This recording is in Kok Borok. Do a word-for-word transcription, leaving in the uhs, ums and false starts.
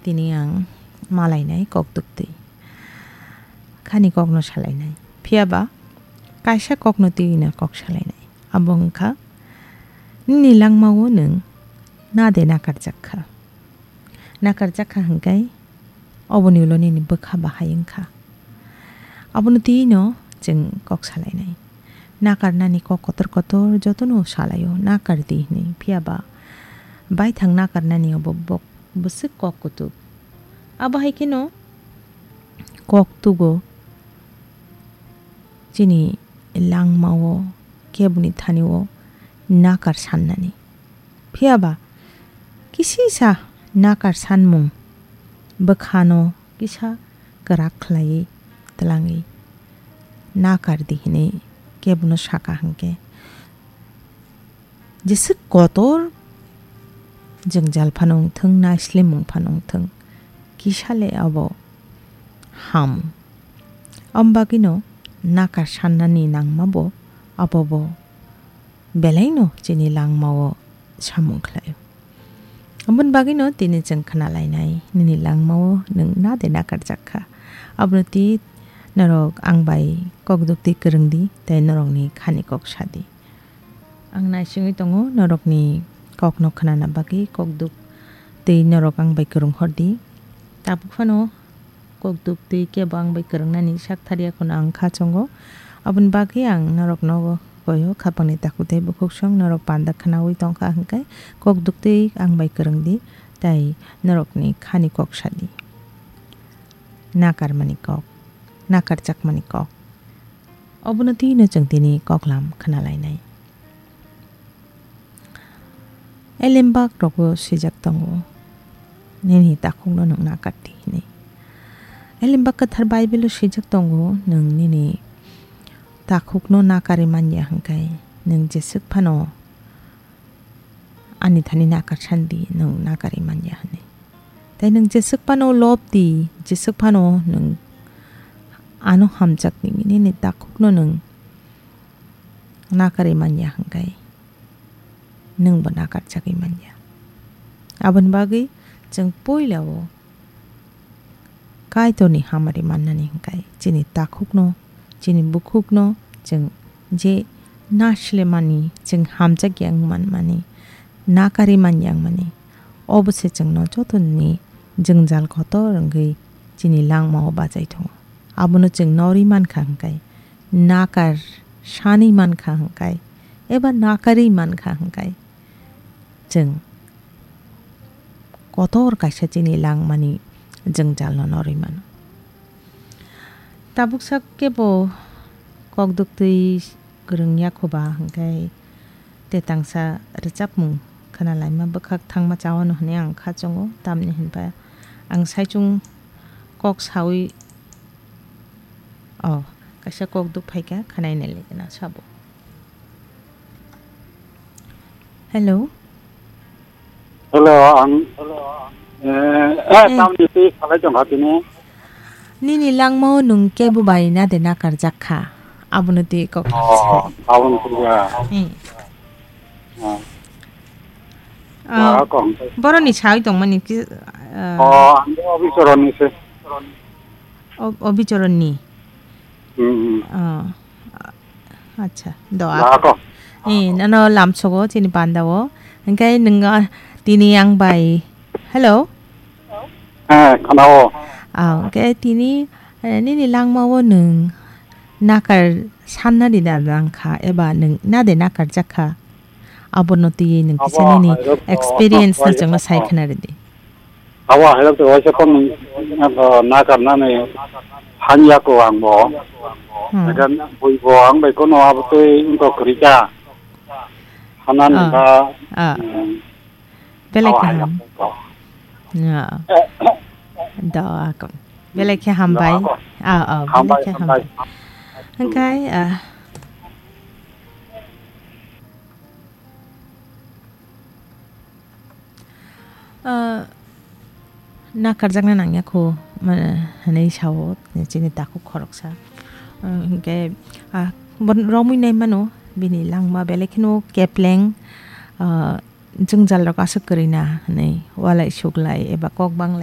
Tini ang malainai kok duktwi. Khani kokno salainai. Phiya ba kaisa kokno twiwi no kok salainai. Abo wngkha nini langmao nwng na de nakarjak kha. Nakarjak kha hwnkhe oboni ulo nini bwkha bahai wngkha. Abono twiwi no chwng kok salainai. Nakarnani kok kotor kotor jotono salaio, nakar di hwnwi. Phiya ba baithang nakarnani obo bok bwswk kok kutuk. Abo hai kheno kok tugo chini langmao keboni thanio nakar sannani. Phiya ba kisisa nakar sanmung bwkhano kisa kwrak khlaiwi twlangwi nakar di hwnwi kebono saka hwnkhe, jeswk kotor jwngjal phano wngthwng, naislemung phano wngthwng, kisa le abo ham. Om bagwino nakar sannani nangma bo abo bo belaino chini langmao samung khlaio. Aboni bagwino tini chwng khna lainai, nini langmao nwng na de nakarjak kha. Abono twi norok ang bai kok duktwi kwrwng di, tei norokni khani kok sa di. Ang naisingwi tongo norokni kokno khnana bagwi, kok duktwi norok ang bai kwrwng hor di. Tabuk phano kok duktwi kebo ang bai kwrwngnani sak thariya kheno ang kha chongo. Aboni bagwi ang norokno koyo khapangni takhuk tei bukhuk song norok panda khnaui tongkha hwnkhe kok duktwi ang bai kwrwng di tei norokni khani kok sa di. Nakarmani kok, nakarjakmani kok. Obono twino chwng tini koklam khna lainai. Elembak rogo swijak tongo, "Nini takhukno nwng nakar di," hwnwi. Elembak kwthar Bible-o swijak tongo, "Nwng nini takhukno nakarwi man ya hwnkhe, nwng jeswk phano ani thani nakar san di, nwng nakarwi man ya," hwnwi. Tei nwng jeswk phano lob di, jeswk phano nwng ano hamjak di, nini takhukno nwng nakarwi man ya hwnkhe, nwngbo nakarjagwi man ya. Aboni bagwi chwng puila o Kaitorni hamari mannani hwnkhe chini takhukno, chini bukhukno chwng je naslemani, chwng hamjak ya wng manmani, nakarwi man ya wng mani, obo se chwngno jotoni jwngjal kotor wngwi chini langmao bachai tongo. Abono chwng norwi mankha hwnkhe, nakar sanwi mankha hwnkhe, eba nakarwi mankha hwnkhe, chwng kotor kaisa chini langmani jwngjalno norwi mano. Tabuksa kebo kok duktwi kwrwng ya kho ba hwnkhe, te tangsa rwchapmung khna laima bwkhak thangma chawano hwnwi ang kha chongo, tamni hwnba ang saichung kok saui, o, kaisa kok duk phaikha, khwnai nai lai gana sabo. Hello. Hello, ang, eh, eh, eh, tamni twi salai tongkha tini. Nini langmao nwng kebo bai na de nakarjak kha? Abono twi kok. Oh, aboni twi ya. Eh. Oh. Ah, ah, kok. Boroni sawi tongmani ki, ah, oh, ang Obichoronni se. O-, Obichoronni. Hmm, hmm. Oh. Acha, do. Da ako. Eh, nano lamsogo chini pandao. Hingkai nwngo tini ang bai. Hello? Eh, khanao. Ah, hingkai tini, eh, nini langmao nwng nakar sanna di da langkha eba nwng na de nakarjak kha? Abono twiwi nwng kisa nini experience no chwngno sai khna rwdi. Abo hairok twi waisa kom, eh, nakarnani hanya ko ang bo. Hmm. Nakan bui bo ang bai kono abo twi wngkok kwrwi kha. Hanan, ah, ba, ah, hmm. Belai kaham. Ya. Do akon. Belai khe hambai. Do akon. Ah, ah, belai khe hambai. Hambai, hambai. Hingkai, ah. Ah, nakarjakna nangya kho, ma-, hwnwi sao chini takhuk khoroksa. Ah, hinkhe, ah, bo romwi nai mano, bini langma belai kheno kepleng, ah, jwngjal rok aswk kwrwi na hwnwi, walai suklai eba kok banglai